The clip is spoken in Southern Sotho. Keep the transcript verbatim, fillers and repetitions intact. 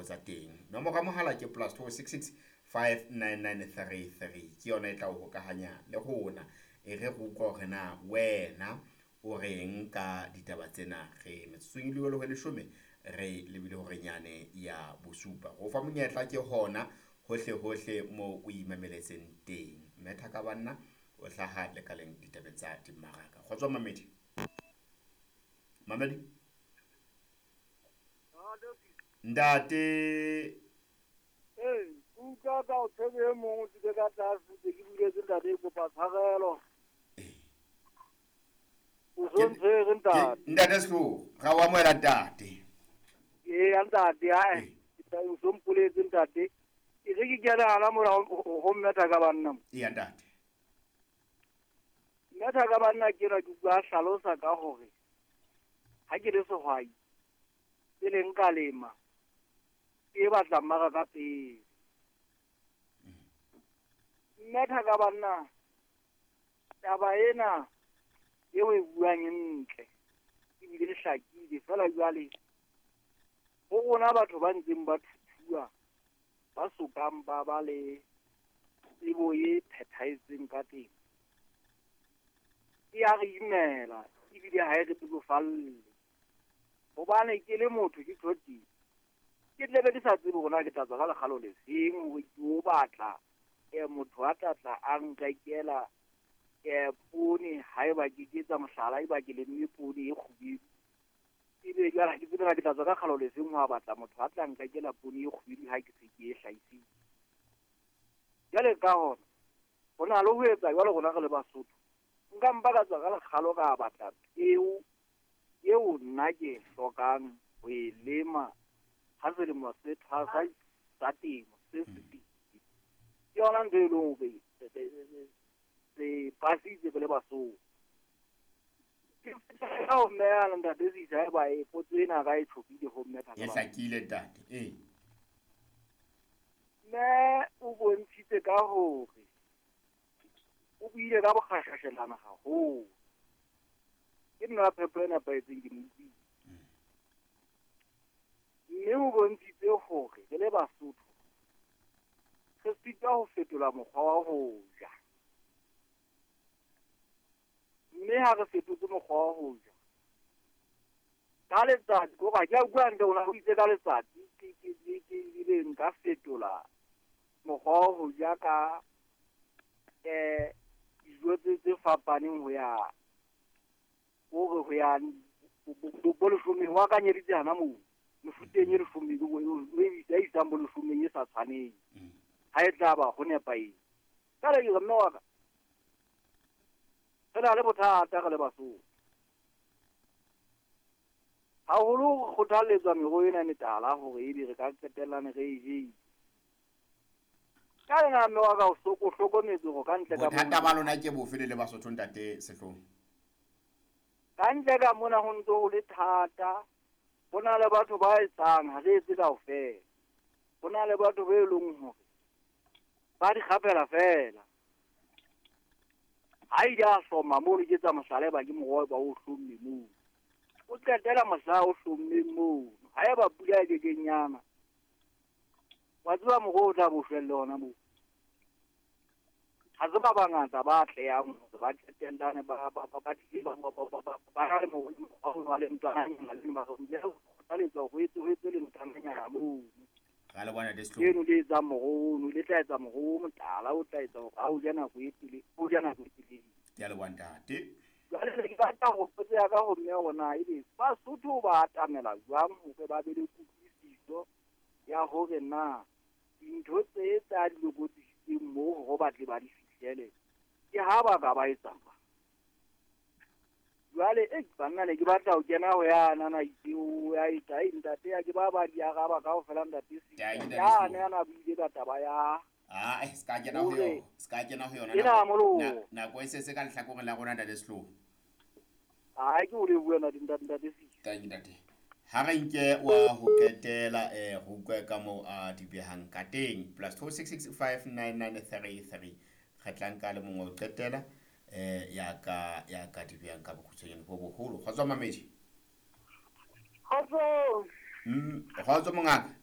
botsa teng. Nomoro ya mohala ke plus two six six five nine nine three three. Ke yona e tla o hokahanya le rona. E re re utlwa hore na wena o reng ka ditaba tsena. Re metsotsong e le ho leshome re lebile hore nyane ya bosupa. Ho fa monyetla ke hona hohle hohle mo o imameletseng teng. Mme Thaka banna o hlaha lekaleng ditabeng tsa dimmaraka. Kgotso mamedi. Mamedi. Ntate. Ee, ke utlwa ka o tshebe e mong o tsile ka tlase ke ke buletse ntate, kopa tshwarelo. O so ntshwere ntate. Ntate Sehloho, ra o amohela ntate. Ee, ntate, ae. O so mpoletse ntate. E re ke kene hana mona ho mme Thaka banna. Eya ntate. Mme Thaka banna ke enwa ke utlwa a hlalosa ka hore ha ke le sehwai pele nka lema ke batla mmaraka pele. Mme Thaka banna taba ena eo e buang e ntle ebile e hlakile feela jwale ho rona batho ba ntseng ba thuthuwa ba sokang ba ba le tsebo e phethahetseng ka temo. E ya re imela ebile ha e re bebofalle. Hobane ke le motho ke tjho tje, ke tla be ke sa tsebe hore na ke tla tswa ka lekgalo le feng hore ke o batla motho a tla tla a nrekela poone haeba ke ke etsa mohlala, eba ke lemme poone e kgubedu. Ebe jwale ha ke tsebe na ke tla tswa ka kgalo le feng ho batla motho a tla nrekela poone e kgubedu ha ke se ke e hlahisitse. Jwale ka hona, ho na le ho etsa jwalo rona re le Basotho. Nka mpa ka tswa ka lekgalo ka batla peo eo nna ke e hlokang ho e lema ha selemo se thwasa sa temo se fetile. Ke yona ntho e leng hore re pasitse re le Basotho. Ke ka ho mme yana ntate Sisa haeba e potso ena ka e tjhopile ho mme E hlakile ntate. Ee. Mme o bontshitse ka hore o buile ka bokgashashelana haholo. Ke nna phepo e nepahetseng ke mo utlwile. Mme o bontshitse hore re le Basotho re sitwa ho fetola mokgwa wa ho ja. Mme ha re fetotse mokgwa wa ho ja, ka letsatsi kore ha ke a bua hantle hore o itse ka letsatsi ke ke ke ke ebe nka fetola mokgwa wa ho ja ka eh dijo tse tse fapaneng ho ya hore ho ya bo leshomeng ho akanyeditse hana moo mefuteng e leshome e isang bo leshomeng e sa tshwaneng ha e tla ba ho nepahetse. Jwale ke re mme wa ka re na le bothata re le Basotho. Haholo re kgothalletswa meroho ena e metala hore ebe re ka qetellane re e jele. Ka lena mme wa ka o o hlokometse hore ka ntle ka Bothata ba lona ke bofe le le Basotho ntate Sehloho? Ka ntle ka mona ho ntso ho le thata. Ho na le batho ba etsang ha re etse kaofela. Ho na le batho be leng hore ba di kgapela feela. Ha ile a hloma mono ke etsa mohlala eba ke moroho ba o hlomme moo. O qetela mohla o hlommeng moo. Haeba pula e kekeng yana, wa tseba moroho o tla bo shwelle hona moo. Ha se ba bangata ba atlehang hore ba qetellane ba ba ba ba ba ba na le mokgwa le ntwananyana le ba kgothaletswa ho etse ho etse le ntwananyana moo. Ra le bona Sehloho. Leno le etsang moroho ono le tla etsa moroho o motala o tla etsa hore ha o ja nako e telele o ja nako e telele. Ke a leboha ntate. Jwale ne ke batla ho potso ya ka ho mme hore na ebe Basotho ba atamela jwang hore ba be le kutlwisiso ya hore na dintho tse tsa di lokodisitseng moo hore ba tle ba di fihlele ke ha ba ka ba etsa jwang. Jwale e banna ne ke batla ho kena ho yana na itse o ya etsa ai ntate ya ke ba ba di araba kaofela ntate Sisa. Yane yana buile ka taba ya Ah, eh, ska kena ho yona. Ska kena ho yona. Ena molo. Nako e setse ka lehlakoreng la rona ntate Sehloho. Ai ke o le bua na ntate ntate Sisa. Thank you ntate. Ha re nke wa ho qetela eh go utlwe ka moo a di behang ka teng. Plus two six six five nine nine three three. Re tla nka le mongwe ho qetela eh ya ka ya ka di behang ka bokhutshwanyane bo boholo. Kgotso mamedi. Kgotso. Mm, kgotso mongaka.